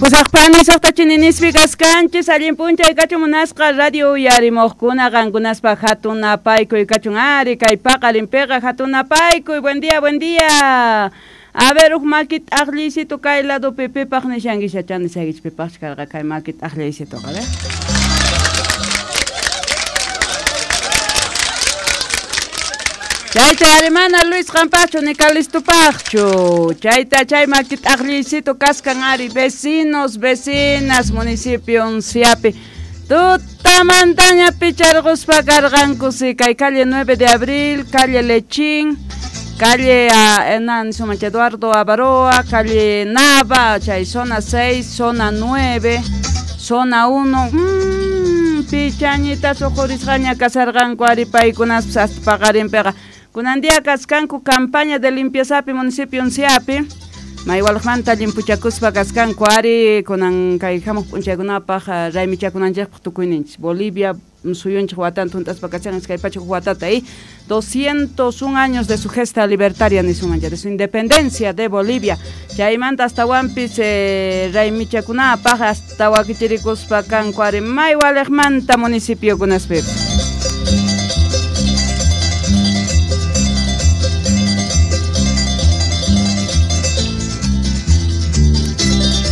Pusaqpani suqta chininispi kaskanchis allin p'unchay kachun munasqa radio uyarimuqkuna qankunaspa hatun napaykuy kachun ari kay paqarinpiqa hatun napaykuy buen día buen día. A ver huk maki t'aqlliysito kay ladopi pipaq nishanki chani saykichik pipaqchu karqa kay maki t'aqlliysitoqa a ver. Chayta ari mana Luis qampaqchu ni Calistopaqchu. Chayta chay maki t'aqlliysito kaskan ari vecinos, vecinas municipio Unciapi. Tutamantaña picharquspa karqanku si kay calle 9 de abril, calle Lechín, calle Hernán Sumacha Eduardo Avaroa, calle Nava, chay zona 6, zona 9, zona 1. Pichañita suqurisqaña kasarqanku ari paykunaspas hasta paqarinpiqa. Kunan día kaskanku campaña de limpieza municipio Unciapi. Maywalqmanta llimpuchakuspa kaskanku ari kunan kay hamuq p'unchaykunapaq raymichakunanchikpaq tukuyninchis. Bolivia suyunchik watanta hunt'aspa kachan iskay pachak watata 201 años de su gesta libertaria nisunmancha, de su independencia de Bolivia. Chaymanta astawanpis raymichakunapaq hasta wakichirikuspa kanku ari maywaliqmanta municipiokunaspipis.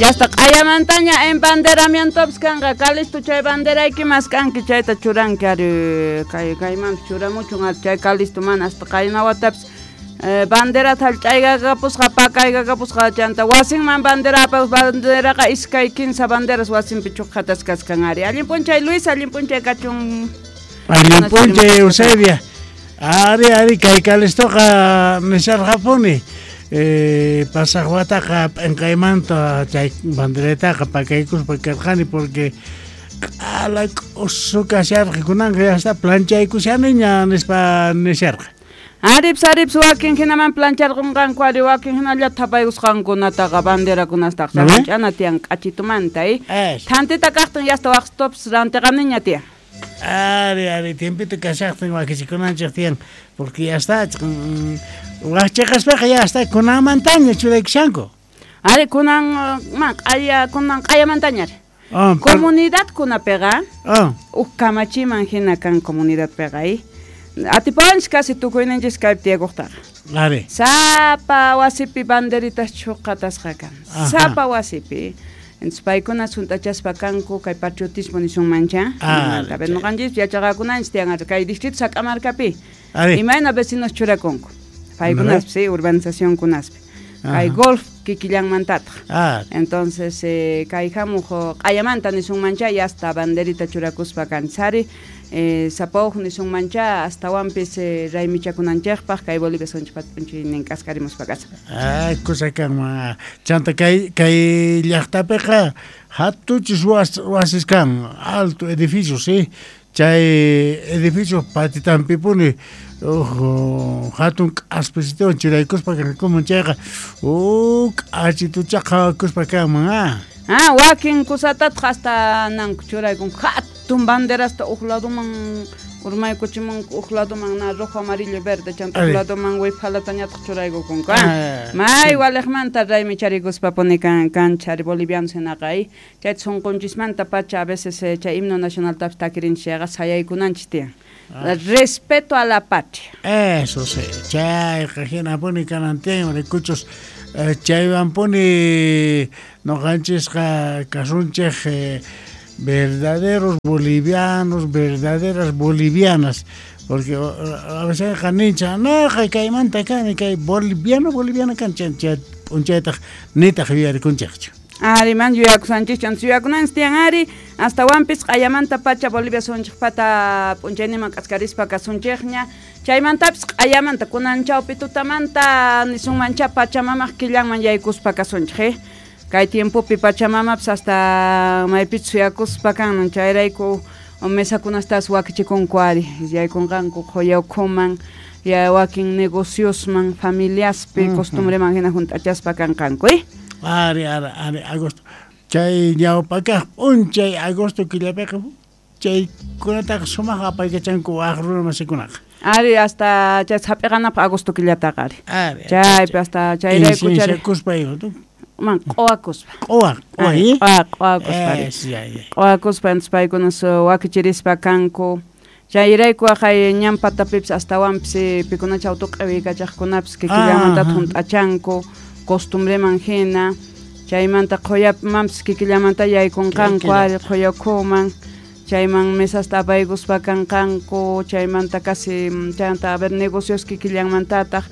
Ya está q'ayamantaña embanderamientopis kanqa Calisto chay banderayki maskanki chayta churanki ari kay kaymanpis churamuchun ari chay Calisto mana hasta qayna watapis banderata hallch'aykakapusqa pakaykakapusqa chanta wasinman bandera banderaqa iskay kinsa banderas wasinpi chuqhatas kaskan ari. Allin p'unchay Luis, allin p'unchay kachun. Allin p'unchay Eusebia. Ari ari kay Calistoqa nisharqapuni. Pasaq wataqa p'inqaymanta chay banderataqa pakaykuspa karqani porque q'ala k'usu kasharqa kunanqa ya está planchaykushaniña nispa nisharqa. Arips arips wakin hinaman plancharqunqanku ari wakin hinallata thapaykusqankunataqa banderakunastaqa ch'ana tiyan k'achitumanta thantita kaqtin yasta waqtupis rantiqaniña tiyan. Ari ari tiempito kashaqtin wakichikunanchik tiyan porque ya está waqchaqaspaqa ya está kunanmantaña churaykushanku. Ari kunan man q'aya kunan q'ayamantaña ari. Comunidad kunapiqa huk kamachiman hina kan comunidadpiqa atipawanchis casi tukuyninchis kaypi tiyakuqtaqa. Ari. Sapa wasipi banderitas chuqatasqa kan. Sapa wasipi. Entonces paykuna hunt'achaspa kanku kay patriotismo nisunmancha. Noqanchis yachaqakunanchis tiyan kay distrito Sac'amarkapi. Imayna vecinos churakunku. Paykunaspi, sí, urbanizacionkunaspi. Kay golf kikillanmantataq. Entonces kay hamuq q'ayamanta nisunmancha y hasta banderita churakuspa kanchari. Sapauj nisunmancha astawanpis raymichakunanchikpaq kay Bolivia sunchikpata p'unchaynin k'askarimuspa kasqa. Kusa kanman. Chanta kay kay llaqtapiqa hatuchis wasis kan, alto edificios, sí. Chay edificio patitanpipuni hatun k'aspisituwan churaykuspa kankuman chayqa k'achitucha qhawakuspa kanman. Wakin kusatataq hasta nanku churaykunku hatun banderasta huk ladoman urmaykuchimunku huk ladoman na rojo, amarillo, verde chanta huk ladoman wiphalatañataq churaykukunku. May waliqmanta raymicharikuspa puni kanchari bolivianos hinaqa chayta sunqunchismanta pacha a veces chay himno nacionaltapis takirinchis chayqa sayaykunanchis tiyan. Respeto a la patria. Eso sí, chayqa hinapuni kanan tiyan rikuchus chaywanpuni noqanchisqa kasunchik verdaderos bolivianos, verdaderas bolivianas, porque a veces nincha, no, kaymanta kani kay boliviano, boliviana kan p'unchaytaq nitaq yuyarikunchikchu. Ari man yuyakusanchis chanta yuyakunanchis tiyan ari astawanpis q'ayamanta pacha Bolivia sunchikpata p'unchayninman k'askarispa kasunchikña chaymantapis q'ayamanta kunan chawpi tutamanta nisunmancha Pachamamaq killanman yaykuspa kasunchik kay tiempopi Pachamamapis hasta maypichus suyakuspa kanman chayrayku mesakunastas wakichikunku ari yaykunqanku qhuya ukhuman ya wakin negociosman familiaspi costumbreman hina hunt'achaspa kanqanku. Ari ari ari agosto chay ñawpakaq p'unchay agosto killapiqa chaykunataqa sumaq apaykachanku waq runa masikunaqa. Ari hasta chay hap'iqanapaq agosto killataqa ari. Chaypi hasta chayrayku charikuspa Man q'uwakuspa. Q'uwa, Ari, q'uwa. Q'uwakuspa. Ari. Es, ya, ya. Q'uwakuspa entonces paykuna wakichirispa kanku. Chayrayku waqay ñan patapipis astawanpis pikunacha autuq'iwiykachaqkunapis kikillamantata hunt'achanku costumbreman hina. Chaymanta qhuyamanpis kikillamanta yaykunqanku ari qhuyakhuman. Chayman mesasta apaykuspa kanqanku, chaymanta casi chaymanta a ver negocios kikillanmantataq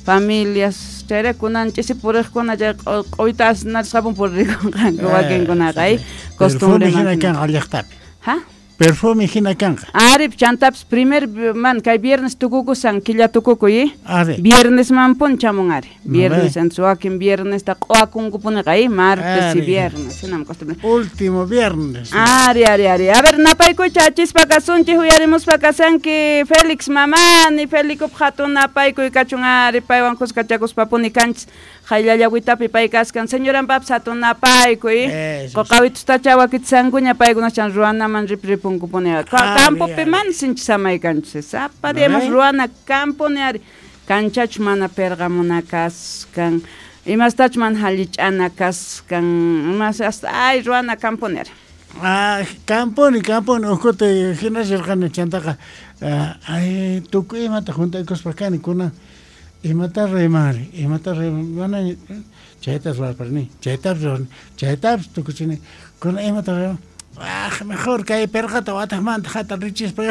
familias chayrayku kunan ch'isi puriqkuna chay q'uyta asnarisqapun puririkunqanku wakinkunaqa Perfume costumbreman hina hina. kanqa llaqtapi. Ha? Perfume hina kanqa. Ari, chantapis primer man kay viernes tukukusan killa tukukuy Ari. Viernes man chamun ari. Viernes Ve. entonces wakin viernesta q'uwakunkupuniqa martes y Ari. viernes hinam costumbre. Último viernes. Ari, ari, ari. A ver, napaykuy achispa kasunchik uyarimuspa kasanki Félix mamani, Felicup hatun napaykuy kachun ari paywan kuskachakuspapuni kanchis qayllallawitapi pay kaskan. Señoranpapis hatun napaykuy. Eso. Qoqawitustacha wakitsankuña paykunachan ruwanaman ripripunkupuni. Ari, Campopi ari. mana sinchi samay kanchis. Sapa diamos Ve. ruwana camponi ari. Kanchachu mana perqamuna kaskan. Imastach mana hallich'ana kaskan. Imas hasta ay ruwana camponi ari. Ah, camponi, camponi, ukhuta hina rirqani chantaqa ay tukuy imata juntaykuspa kani kunan imata ruwaymanri, imata ruwayman, mana chayta ruwarparini, chaytapis ruwarani, chaytapis tukuchini, kunan imata ruwayman, ah, mejor kay perqata wataqmanta hatarichispa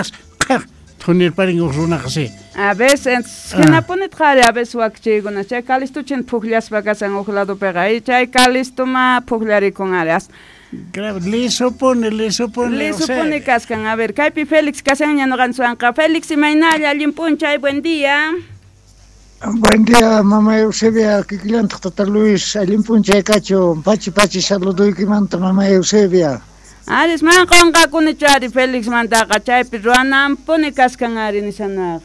qhaq thunirparin uj runaqa sí. A veces, hinapunitaq ari a veces wakichiykuna chay Calistuchin pukllaspa kasan uj ladopiqa y chay Calistuma pukllarikun ari as Grave, lisopuni, lisopuni, lisupuni kaskan. A ver, kaypi Félix kashanña ñuqanchikwanqa. Félix, imaynalla, allin p'unchay, buen día. Buen día, mamá Eusebia, kikillantaq tata Luis, allin p'unchay kachun, pachi pachi saluduykimanta, mamá Eusebia. Aris man qunqakunichu ari Félix mantaqa chaypi ruwananpuni kaskan ari nishanaqa.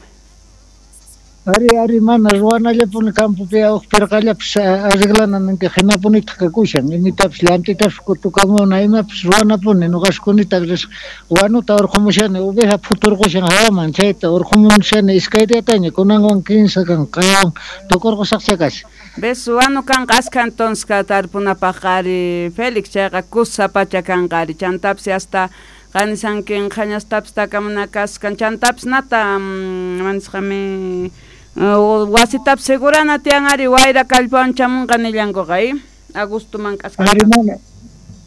Ari, ari, mana ruwanallapuni campopi uj perqallapis arreglana ninki hinapunitaq kakushan, imitapis llantitapis kutukamuna, imapis ruwanapuni, nuqaskunitaq ris wanuta urqumushani, oveja phuturqushan hawaman, chayta urqumushani iskay diyataña, kunanwan 15 kan, qhayawan tukurqusaqcha kashan. Ves, wanu kanqa askha entonces ka tarpunapaq ari Félix chayqa kusa pacha kanqa ari chantapis hasta qanisankin qhañastapis takamuna kaskan chantapis nata manisqami wasitapis segurana tiyan ari wayra kallpawan chamunqa nillankuqa agostoman k'aska.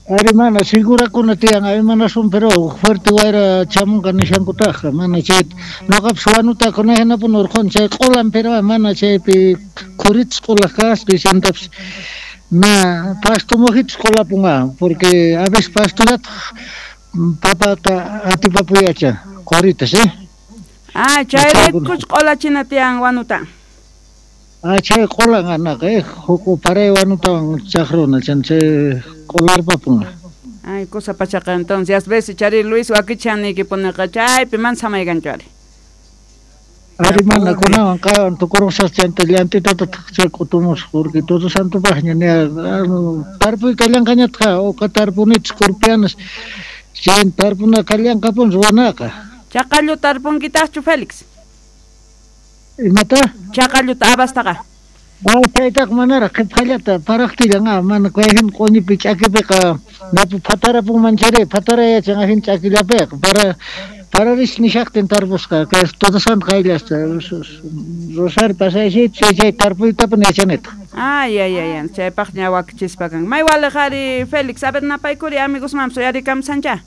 Ari mana segurakuna tiyan imanasun pero fuerte wayra chamunqa nishankutaqqa mana chay nuqapis wanuta kunahinapuni urquni chay q'ulan pero mana chaypi khuritas q'ulaq kasqa chantapis na pasto mujitas q'ulapunqa porque a veces pastollataq papata atipapuyachan qhuritas Ah, chayraykuch q'ulachina tiyan wanuta. Ah, chay q'ulan anaqa huk paray wanutawan chaqruna chan chay q'ularpapunqa. Ay, cosa pachaqa entonces, ves chari Luis wakichan niykipuniqa chaypi mana samaykanchu ari. Ari mana kunawan qhawan tukurqusaq chanta llantitatataq chay k'utumusaq porque todo santopaqña ña tarpuy kallanqañataq uqa tarpunitas kurpianas chay tarpuna kallanqapun ruwanaqa. Chaqallu tarpunkitaqchu Félix? Imata? Chaqalluta abastaqa. Ah, chaytaqa manaraq qhipqallata paraqtillan mana kayhin q'uñipi ch'akipiqa napu phatarapunman chayri phatarayachan ajin ch'akillapiqa para pararis nishaqtin tarpusqa kay todo santo qayllasta rosario pasaysi chay chay tarpuytapuni yachanitaq. Ay, ay, ay, ay, chaypaq ña wakichispa kan. May waliq ari Félix, a ver napaykuri amigosmanpis uyarikamsancha.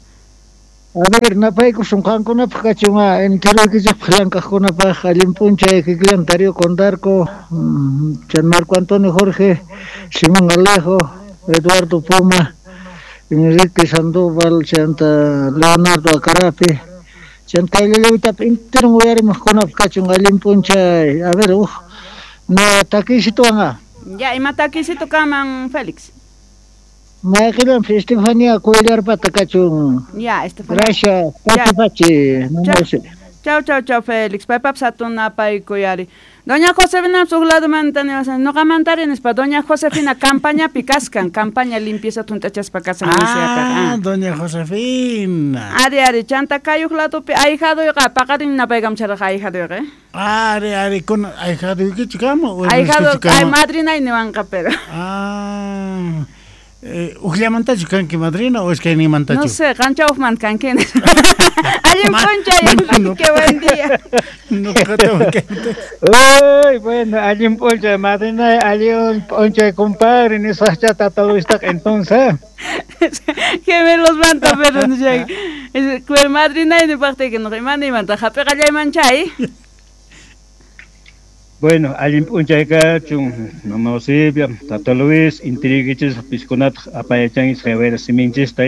A ver, napaykusun qankunapaq kachun enteroykichikpaq llank'aqkunapaq allin p'unchay kikillan Darío Condarco, chan Marco Antonio Jorge, Simón Alejo, Eduardo Poma, Enrique Sandoval, chanta Leonardo Acarapi, chanta kayllallawitapi enteron uyarimuqkunapaq kachun allin p'unchay. A ver, uj, na takisituwan. Ya, ima takisitu kaman Félix. Mayqillanpis Estefania Cuellarpata kachun. Ya, Estefania. Gracias, pachi pachi. Chau, chau, chau, Félix. Paypapis hatun napaykuy ari. Doña Josefina huk ladumanta niwasan noqamantari nispa Doña Josefina campañapi kaskan, campaña limpieza tuntachaspa kasan Ah, Doña Josefina. Ari ari chanta kay huk ladupi ahijaduyqa paqarin napaykamcharqa ahijaduyqa. Ari ari kun ahijaduykichu kama o Ahijado ay madrinay niwanqa pero. Ah. Ujllamantachu kanki madrina o iskayninmantachu? No sé, qancha hukmanta kanki. Allin p'unchay, Enrique, buen día. Uy, bueno, allin p'unchay madrina, allin p'unchay compadre, nisqacha tata Luistaqa entonces. Gemelos manta, pero no sé. Madrina nipaqtiyki noqa imanimanta hap'iqallayman chay. Bueno, allin p'unchay kachun, mama Eusebia, tata Luis, intiriykichis piskunataq apayachanchis haywayra siminchista,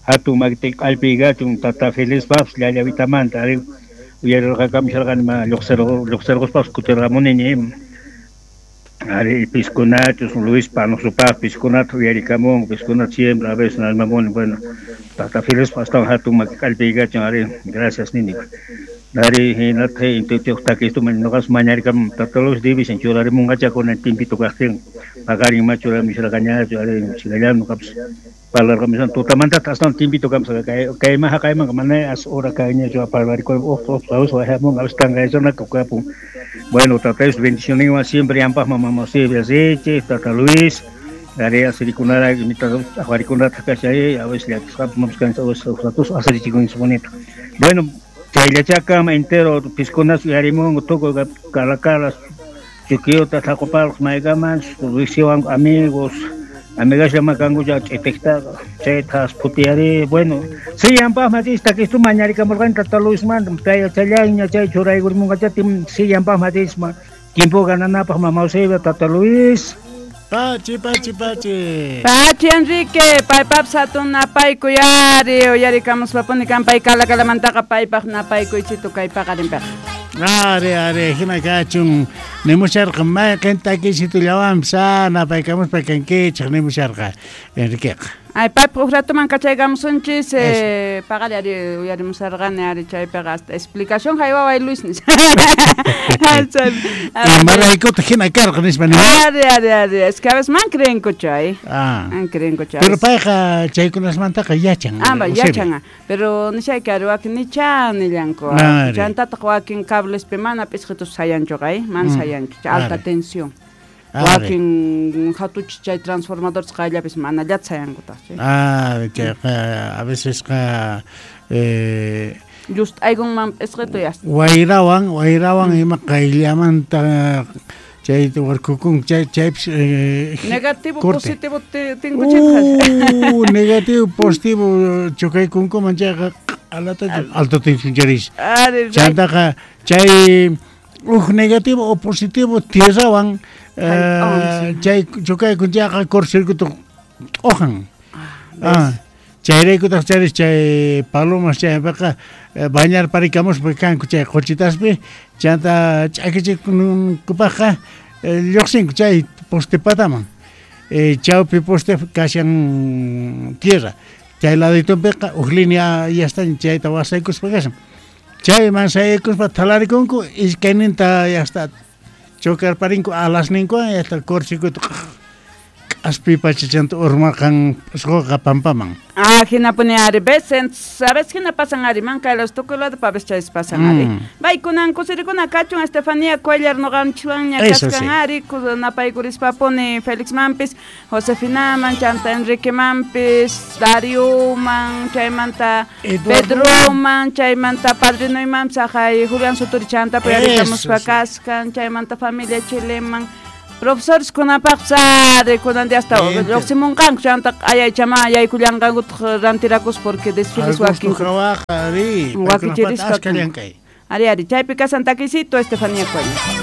hatun makiti q'allpiy kachun, tata Felixpaqpas llallawitamanta, ari uyarirqakamusharqani ma lluqsirquspapas kutirqamuniña, ari piskunachus Luis Panosupaq piskunata uyarikamunku, piskunata siempre a veces nalmamuni, bueno, tata Felixpaq astawan hatun maki q'allpiy kachun, ari gracias nini. Ari hinataq intiyuq takistuman noqas mañarikamun tata Luis division churarimunqacha kunan timpito kaqtin paqarin ma churamusharqañachu ari chikallami noqapas parlarqamushan tutamantataq astawan timpito kamsqa kayman haqaymanqa mana as hora kayñachu parlarikun uq uq wajamunqa a veces tanqaychunaka kapun. Bueno, tata Dios bendicionninwan siempre yampaqman mama Eusebia richiq tata Luis ari asirikunara aqwarikunataq kashay a veces llakisqapas mamas kanchis a veces ratus asirichikunchis bonito. Bueno, chayllachakama entero piskunas uyarimunku tukuy Calacalas, Chuquiyuta, Tlacopalos, maykamanchus riqsiwanku amigos, amigasllama kanku ch'itiqtaqa chaytas phutiyari, bueno, si yampaqman chis takistu mañarikamurqani tata Luismanta chayllaña chay churaykurimunqacha si yampaqman chisma tiempo gananapaq mama Eusebia tata Luis. Pachi, pachi, pachi. Pachi, Enrique, paypapis hatun napaykuy ari, uyarikamuspapuni kan pay Calacalamantaqa paypaq napaykuychitu kay paqarinpiqa. Ari, ari, hina kachun, nimusharqa mayqin takisitullawanpis napaykamuspa kankichik nimusharqa Enriqueqa. Ay, paypaq huk ratuman kachaykamusunchis, paqari ari uyarimusarqani ari chaypiqa hasta explicación haywaway Luis nispa. Imaraykutaq hina karqa nispa nima. Ari, ari, ari, es que a veces man creenkuchu ay. Man creenkuchu. Pero payqa chaykunasmantaqa yachan. Ah, yachan, pero nishayki ari wakin nicha nillanku. Chantataq wakin cablespi mana p'isqitus sayanchuqa ay, mana sayanchu, alta tensión. Wakin hatuch chay transformadores qayllapis manallata sayankutaq. Ah, chayqa a veces qa just aykunman p'isqitu yas. Wayrawan, wayrawan ima qayllamanta chay warkukun chaypis negativo positivo tinkuchitqa. Negativo positivo chukaykunkuman chayqa alata alto tensión charis. Chantaqa chay uj negativo o positivo tierrawan chay chukaykun chayqa cortocircuito t'uqan. Chayraykutaq charis chay palomas chaypiqa bañarparikamuspa kanku chay quchitaspi chanta ch'akichikunkupaqqa lluqsinku chay poste pataman. Chawpi poste kashan tierra. Chay laditunpiqa uj línea yastaña chayta wasaykuspa kashan. Chayman sayaykuspa thalarikunku iskayninta yasta chocarparinku alasninkuwan yasta cortocircuito k'aspi pachachanta urmarqan p'isquqa pampaman. Ah, hinapuni ari veces, a veces hina pasan ari mankaylas tukuy lado pa veces chaysi pasan ari. Baykunan kusirikuna kachun Estefanía Cuellar noqanchikwanña kaskan ari napaykurishpapuni Felixmanpis, Josefinaman, chanta Enriquemanpis, Darioman, chaymanta Pedroman, chaymanta padrinoymanpis haqay Julián Suturi chanta puyarikamuspa kaskan, chaymanta familia Chileman. Profesores kunapaq ari kunan hasta lluqsimunqanku chanta ayaychama yaykullanqankutaq rantirakus porque desfiles wakin wakichirisqa ari ari chaypi kasan takisito Estefanía Cuellar.